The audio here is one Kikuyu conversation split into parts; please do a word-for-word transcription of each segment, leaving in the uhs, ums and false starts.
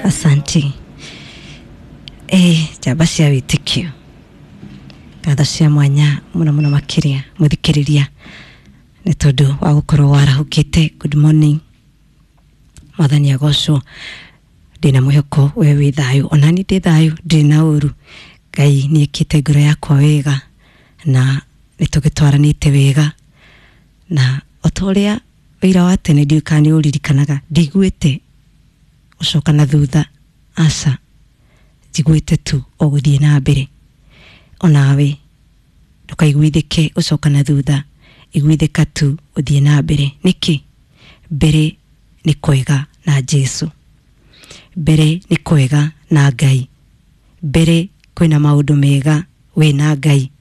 Asante. Eh, njamba cia wĩtĩkio, ngatho cia mwanya mũno mũno makĩria mũthikĩrĩria nĩ tondũ wa gũkorwo warahũkĩte. Good morning, mwathani agocwo. Ndĩna mwĩhoko we wĩ thayũ, onani ndĩ thayũ, ndirĩ na ũru. Ngai nĩ ĩkĩte ngoro yakwa wega na nĩ tũgĩtwaranĩte wega, na o ta ũrĩa wĩira wa tene ndiũĩ kana nĩ ũririkanaga, ndiguĩte gũcoka na thutha, aca, njiguĩte tu o gũthiĩ na mbere. Onawe ndũkaiguithĩke gũcoka na thutha, iguithĩka tu ũthiĩ na mbere. Nĩkĩ? Mbere nĩ kwega na Jesu, mbere nĩ kwega na Ngai, mbere kwĩna maũndũ mega wĩna Ngai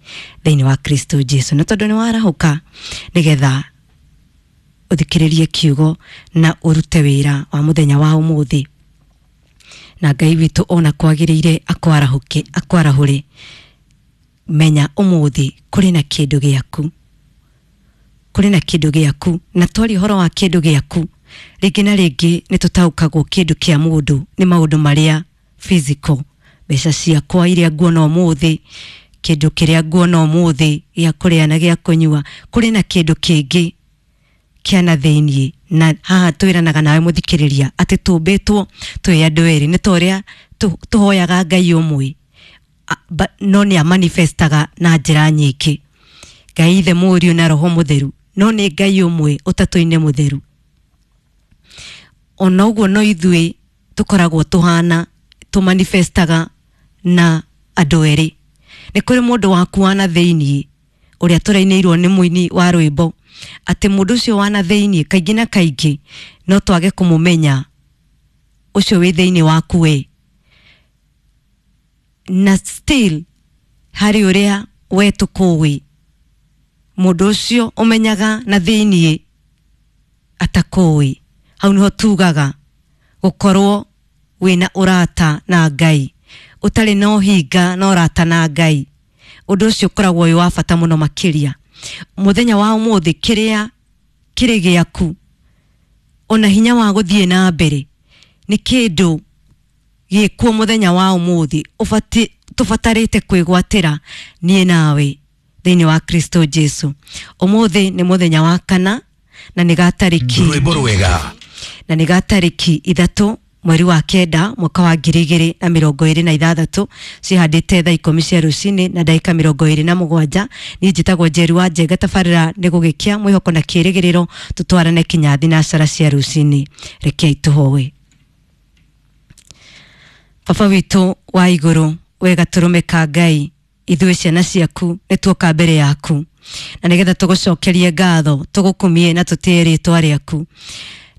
thĩinĩ wa Kristo Jesu. Na tondũ nĩ warahũka nĩgetha ũthikĩrĩrie kiugo na ũrute wĩra wa mũthenya wa ũmũthĩ, na Ngai witũ ona kwagĩrĩire akwarahũke akwarahũre, menya ũmũthĩ kũrĩ na kĩndũ gĩaku, kũrĩ na kĩndũ gĩaku. Na twaria ũhoro wa kĩndũ gĩaku, rĩngĩ na rĩngĩ nĩ tũtaũkagwo kĩndũ kĩa mũndũ nĩ maũndũ marĩa physical, mbeca ciakwa iria nguona ũmũthĩ, kĩndũ kĩrĩa nguona ũmũthĩ gĩa kũrĩa na gĩa kũnyua. Kũrĩ na kĩndũ kĩngĩ kĩa na thĩiniĩ, na haha twĩranaga nawe mũthikĩrĩria atĩ tũmbĩtwo twĩ andũ erĩ, nĩ ta ũrĩa tũhoyaga Ngai ũmwe, no nĩ amanifestaga na njĩra nyingĩ, Ngai Ithe, Mũriũ na Roho Mũtheru, no nĩ Ngai ũmwe ũtatũ-inĩ mũtheru. Ona ũguo no ithuĩ tũkoragwo tũhana tũmanifestaga na andũ erĩ. Nĩ kũrĩ mũndũ waku wa na thĩiniĩ ũrĩa tũrainĩirwo nĩ mũini wa rwĩmbo atĩ mũndũ ũcio wa na thĩiniĩ kaingĩ na kaingĩ no twage kũmũmenya ũcio wĩ thĩiniĩ waku we, na still harĩ ũrĩa we tũkũĩ mũndũ ũcio ũmenyaga na thĩiniĩ atakũĩ. Hau nĩho tugaga gũkorwo wĩna ũrata na Ngai, ũtarĩ na ũhinga na ũrata na Ngai. Ũndũ ũcio ũkoragwo wĩ wa bata mũno makĩria mũthenya wa ũmũthĩ. Kĩrĩa kĩrĩ gĩaku ona hinya wa gũthiĩ na mbere nĩ kĩndũ gĩkuo mũthenya wa ũmũthĩ ũbati tũbatarĩte kwĩgwatĩra niĩ nawe thĩinĩ wa Kristo Jesu. Ũmũthĩ nĩ mũthenya wa kana na nĩ gatarĩki Rwĩmbo rwega na nĩ gatarĩki ithatũ mweri wa kenda mwaka wa ngiri igĩrĩ na mĩrongo ĩrĩ na ithathatũ, cihandĩte thaa ikũmi cia rũcinĩ na ndagĩka mĩrongo ĩrĩ na mũgwanja. Niĩ njĩtagwo Njeri wa Njenga. Tabarĩra nĩ gũgĩkĩa mwĩhoko na kĩrĩgĩrĩro, tũtwarane kinya thinacara cia rũcinĩ. Rekei tũhoe. Baba witũ wa igũrũ, we gatũrũme ka Ngai, ithuĩ ciana ciaku nĩ tuoka mbere yaku na nĩgetha tũgũcokerie ngatho, tũgũkumie na tũtĩe rĩtwa rĩaku.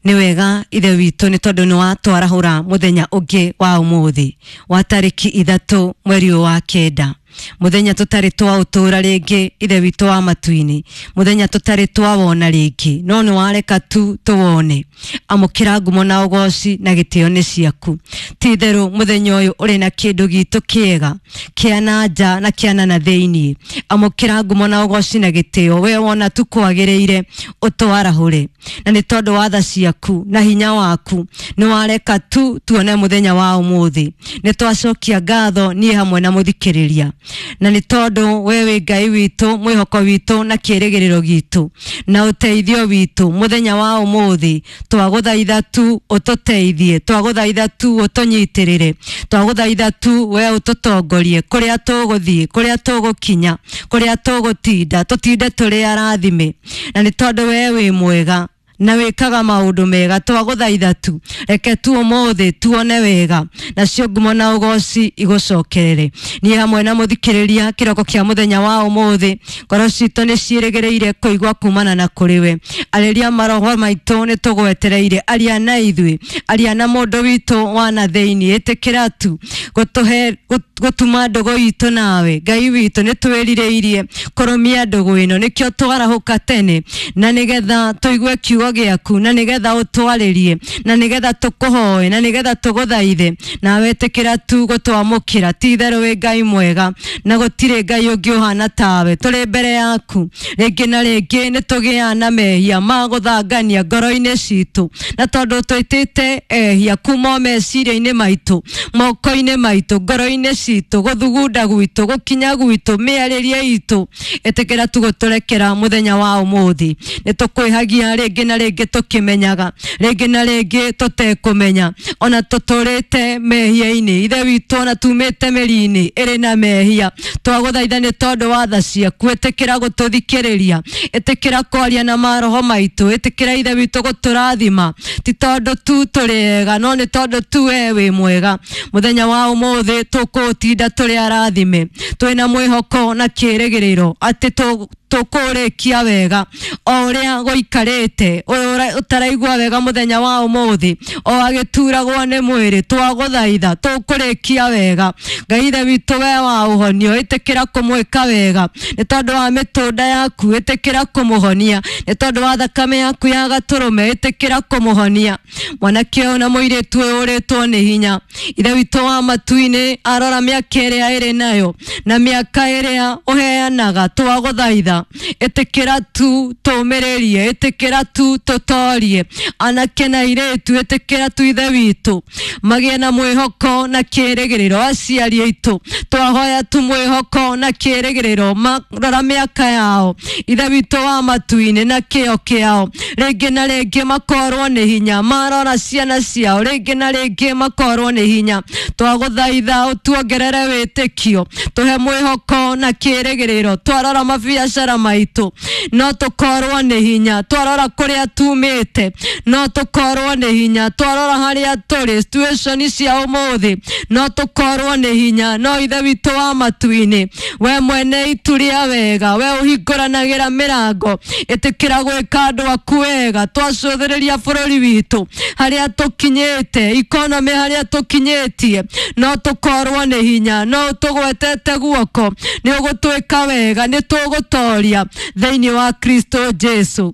Nĩ wega Ithe witũ nĩ tondũ nĩ watwarahũra mũthenya ũngĩ wa ũmũthĩ wa tarĩki ithatũ mweri ũyũ wa kenda, mũthenya tũtarĩ twaũtũra rĩngĩ, Ithe witũ wa matu-inĩ, mũthenya tũtarĩ twawona rĩngĩ, no nĩ wareka tu tũwone. Amũkĩra ngumo na ũgoci na gĩtĩo nĩ ciaku. Ti itherũ mũthenya ũyũ ũrĩ na kĩndũ gitũ kĩega kĩa na nja na kĩa na na thĩiniĩ. Amũkĩra ngumo na ũgoci na gĩtĩo, we wona tu kwagĩrĩire ũtwarahũre, na nĩ tondũ wa tha ciaku na hinya waku nĩ wareka tu tuone mũthenya wa ũmũthĩ. Nĩ twacokia ngatho niĩ hamwe na mũthikĩrĩria, na nĩ tondũ we wĩ Ngai witũ, mwĩhoko witũ na kĩĩrĩgĩrĩro gitũ na ũteithio witũ. Mũthenya wa ũmũthĩ twagũthaitha tu ũtũteithie, twagũthaitha tu ũtũnyitĩrĩre, twagũthaitha tu we ũtũtongorie kũrĩa tũgũthiĩ, kũrĩa tũgũkinya, kũrĩa tũgũtinda, tũtinde tũrĩ arathime, na nĩ tondũ we wĩ mwega na wĩkaga maũndũ mega. Twagũthaitha tu reke tu ũmũthĩ tuone wega, nacio ngumo na ũgoci igũcokerere. Niĩ hamwe na mũthikĩrĩria kĩroko kĩa mũthenya wa ũmũthĩ, ngoro citũ nĩ ciĩrĩgĩrĩire kũigua kumana na kũrĩ we. Arĩria maroho maitũ, nĩ tũgwetereire. Aria na ithuĩ, aria na mũndũ witũ wa na thĩiniĩ. Ĩtĩkĩra tu gũtũhe gũtuma ndũgũ itũ nawe Ngai witũ. Nĩ twĩrirĩirie kũrũmia ndũgũ ĩno, nĩkĩo twarahũka tene na nĩgetha tũigue kiugo. Kiugo gĩaku na nĩgetha ũtwarĩrie na nĩgetha tũkũhoe na nĩgetha tũgũthaithe, nawe ĩtĩkĩra tu gũtwamũkĩra. Ti itherũ wĩ Ngai mwega na gũtirĩ Ngai ũngĩ ũhana tawe. Tũrĩ mbere yaku rĩngĩ na rĩngĩ nĩ tũgĩaga na mehia ma gũthangania ngoro-inĩ citũ, na tondũ twĩtĩte ehia kuma o meciria-inĩ maitũ, moko-inĩ maitũ, ngoro-inĩ citũ, gũthugunda gwitũ, gũkinya gwitũ, mĩarĩrie itũ, ĩtĩkĩra tu gũtũrekera mũthenya wa ũmũthĩ. Nĩ tũkwĩhagia rĩngĩ na rĩngĩ tũkĩmenyaga, rĩngĩ na rĩngĩ tũtekũmenya, ona tũtũrĩte mehia-inĩ. Ithe witũ, ona tumĩte mĩri-inĩ ĩrĩ na mehia, twagũthaitha nĩ tondũ wa tha ciaku, ĩtĩkĩra gũtũthikĩrĩria, ĩtĩkĩra kwaria na maroho maitũ, ĩtĩkĩra Ithe witũ gũtũrathima, ti tondũ tu tũrĩ ega, no nĩ tondũ tu we wĩ mwega. Mũthenya wa ũmũthĩ tũkũũtinda tũrĩ arathime, twĩna mwĩhoko na kĩĩrĩgĩrĩro atĩ tũ tũkũrĩkia wega o ũrĩa gũikarĩte. Ũyũ ũtaraigua wega mũthenya wa ũmũthĩ, o agĩturagwo nĩ mwĩrĩ, twagũthaitha tũkũrĩkia wega. Ngai Ithe witũ, we wa ũhonio, ĩtĩkĩra kũmwĩka wega nĩ tondũ wa mĩtũnda yaku, ĩtĩkĩra kũmũhonia nĩ tondũ wa thakame yaku ya gatũrũme, ĩtĩkĩra kũmũhonia mwanake ũyũ na mũirĩtu ũyũ ũrĩtwo nĩ hinya. Ithe witũ wa matu-inĩ, arora mĩaka ĩrĩa ĩrĩ nayo na mĩaka ĩrĩa ũheanaga, twagũthaitha ĩtĩkĩra tu tũmĩrĩrie, ĩtĩkĩra tu tũtorie anake na airĩtu, ĩtĩkĩra tu Ithe witũ magĩe na mwĩhoko na kĩĩrĩgĩrĩro. Aciari aitũ, twahoya tu mwĩhoko na kĩĩrĩgĩrĩro, marora mĩaka yao, Ithe witũ wa matu-inĩ, na kĩo kĩao, rĩngĩ na rĩngĩ makorwo nĩ hinya, marora ciana ciao, rĩngĩ na rĩngĩ makorwo nĩ hinya. Twagũthaitha ũtuongerere wĩtĩkio, tũhe mwĩhoko na kĩĩrĩgĩrĩro. Twarora mabiacara maitũ, no tũkorwo nĩ hinya. Twarora kũrĩa tumĩte, no tũkorwo nĩ hinya. Twarora harĩa tũrĩ, situation cia ũmũthĩ, no tũkorwo nĩ hinya. No Ithe witũ wa matu-inĩ, we mwene itu rĩa wega, we ũhingũranagĩra mĩrango, ĩtĩkĩra gwĩka andũ aku wega. Twacũthĩrĩria bũrũri witũ harĩa tũkinyĩte, ikonomĩ harĩa tũkinyĩtie, no tũkorwo nĩ hinya. No ũtũgwetete guoko, nĩ ũgũtwĩka wega, nĩ tũgũtoria thĩinĩ wa Kristo Jesu.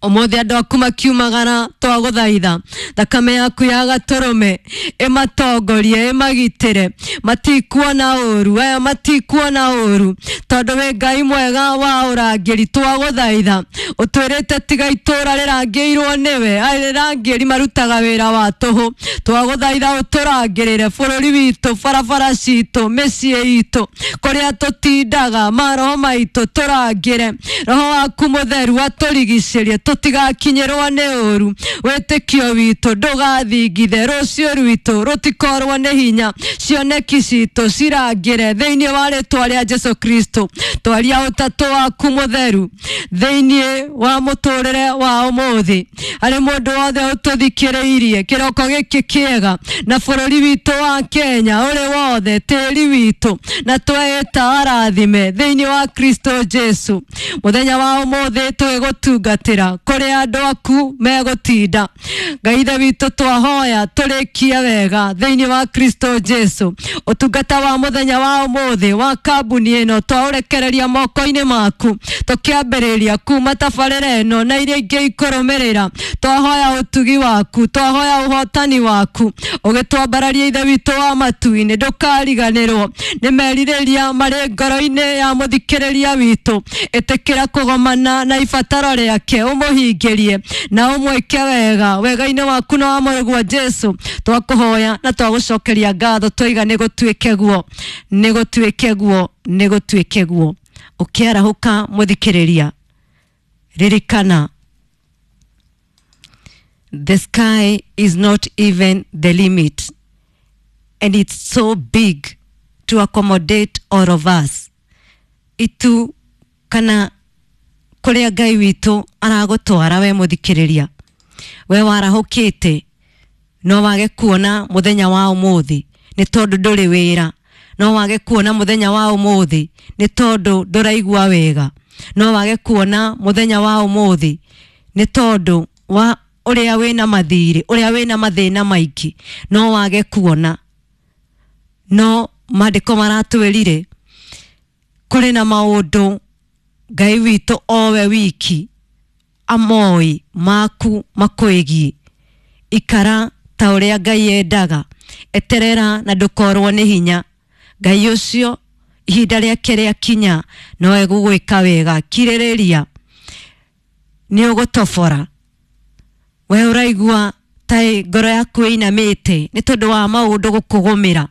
Ũmũthĩ andũ aku makiumagara, twagũthaitha thakame yaku ya gatũrũme ĩmatongorie, ĩmagitĩre, matikuona ũru, aya matikuona ũru, tondũ wĩ Ngai mwega wa ũrangĩri. Twagũthaitha ũtwĩrĩte tiga itũra rĩrangĩirwo nĩwe, arĩrangĩri marutaga wĩra wa tũhũ. Twagũthaitha ũtũrangĩrĩre bũrũri witũ, barabara citũ, mĩciĩ itũ, kũrĩa tũtindaga, maroho maitũ tũrangĩre. Roho waku mũtheru atũrigicĩrie tũtigakinyĩrwo nĩ ũru. Wĩtĩkio witũ ndũgathingithe, rũciũ rwitũ rũtikorwo nĩ hinya, cioneki citũ cirangĩre thĩinĩ wa rĩtwa rĩa Jesu Kristo. Twaria ũtatũ waku mũtheru thĩinĩ wa mũtũrĩre wa ũmũthĩ harĩ mũndũ wothe ũtũthikĩrĩirie kĩroko gĩkĩ kĩega, na bũrũri witũ wa Kenya ũrĩ wothe, tĩri witũ, na tweĩta arathime thĩinĩ wa Kristo Jesu. Mũthenya wa ũmũthĩ twĩgũtungatĩra kũrĩa andũ aku megũtinda. Ngai Ithe witũ, twahoya tũrĩkie wega thĩinĩ wa Kristo Jesu. Ũtungata wa mũthenya wa ũmũthĩ wa kambuni ĩno twaũrekereria moko-inĩ maku, tũkĩambĩrĩria kuma tabarĩra ĩno na iria ingĩ ikũrũmĩrĩra. Twahoya ũtugi waku, twahoya ũhotani waku ũgĩtwambararia. Ithe witũ wa matu-inĩ, ndũkariganĩrwo nĩ merirĩria marĩ ngoro-inĩ ya mũthikĩrĩria witũ. Ĩtĩkĩra kũgomana na ibataro rĩake, ũmũhingĩrie na ũmwĩke wega wega-inĩ waku na wa mũrũguo Jesu. Twakũhoya na twagũcokeria ngatho, twaiga nĩ gũtuĩke guo, nĩ gũtuĩke guo, nĩ gũtuĩke guo. Ũkĩarahũka mũthikĩrĩria, ririkana, the sky is not even the limit, and it's so big to accommodate all of us. Itu kana kũrĩa Ngai witũ aragũtwara we mũthikĩrĩria, we warahũkĩte no wage kuona mũthenya wa ũmũthĩ nĩ tondũ ndũrĩ wĩra, no wage kuona mũthenya wa ũmũthĩ nĩ tondũ ndũraigua wega, no wage kuona mũthenya wa ũmũthĩ nĩ tondũ wa ũrĩa wĩna mathirĩ, ũrĩa wĩna mathĩna maingĩ, no wage kuona. No maandĩko maratwĩrire kũrĩ na maũndũ Ngai witũ owe wiki amoĩ maku makwĩgiĩ. Ikara ta ũrĩa Ngai endaga, eterera na ndũkorwo nĩ hinya. Ngai ũcio ihinda rĩake rĩakinya no egũgwĩka wega. Kirĩrĩria, nĩ ũgũtobora. We ũraigua ta ngoro yaku ĩinamĩte nĩ tondũ wa maũndũ gũkũgũmĩra.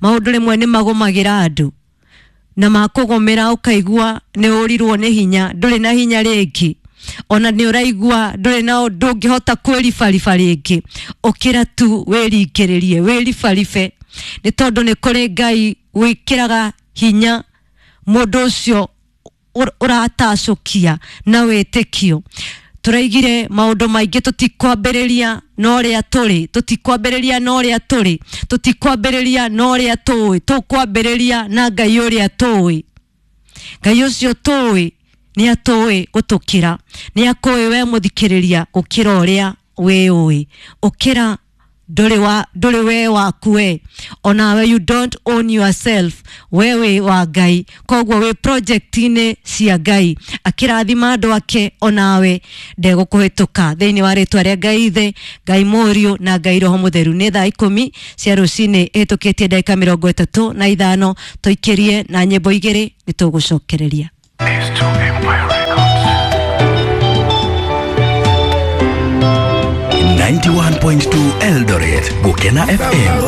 Maũndũ rĩmwe nĩ magũmagĩra andũ, na makũgũmĩra ũkaigua nĩ ũrirwo nĩ hinya, ndũrĩ na hinya rĩngĩ, ona nĩ ũraigua ndũrĩ na ndũngĩhota kwĩribariba rĩngĩ. Ũkĩra tu wĩringĩrĩrie, wĩribaribe, nĩ tondũ nĩ kũrĩ Ngai wĩkĩraga hinya mũndũ ũcio ũratacũkia na wĩtĩkio. Tũraigire maũndũ maingĩ, tũtikwambĩrĩria na ũrĩa tũrĩ, tũtikwambĩrĩria na ũrĩa tũrĩ, tũtikwambĩrĩria na ũrĩa tũĩ, tũkwambĩrĩria na Ngai ũrĩa tũĩ. Ngai ũcio tũĩ nĩ atũĩ gũtũkĩra, nĩ akũĩ we mũthikĩrĩria gũkĩra ũrĩa wĩũĩ. Ũkĩra, ndũrĩ wa ndũrĩ we waku we, onawe you don't own yourself, we wĩ wa Ngai, koguo wĩ project-inĩ cia Ngai. Akĩrathima andũ ake, onawe ndegũkũhĩtũka. Thĩinĩ wa rĩtwa rĩa Ngai Ithe, Ngai Mũriũ na Ngai Roho Mũtheru. Nĩ thaa ikũmi cia rũcinĩ ĩhĩtũkĩtie ndagĩka mĩrongo ĩtatũ na ithano. Tũikĩrie na nyĩmbo igĩrĩ, nĩ tũgũcokereria. S two Empire Records. ninety-one point two Eldoret, Gukena F M.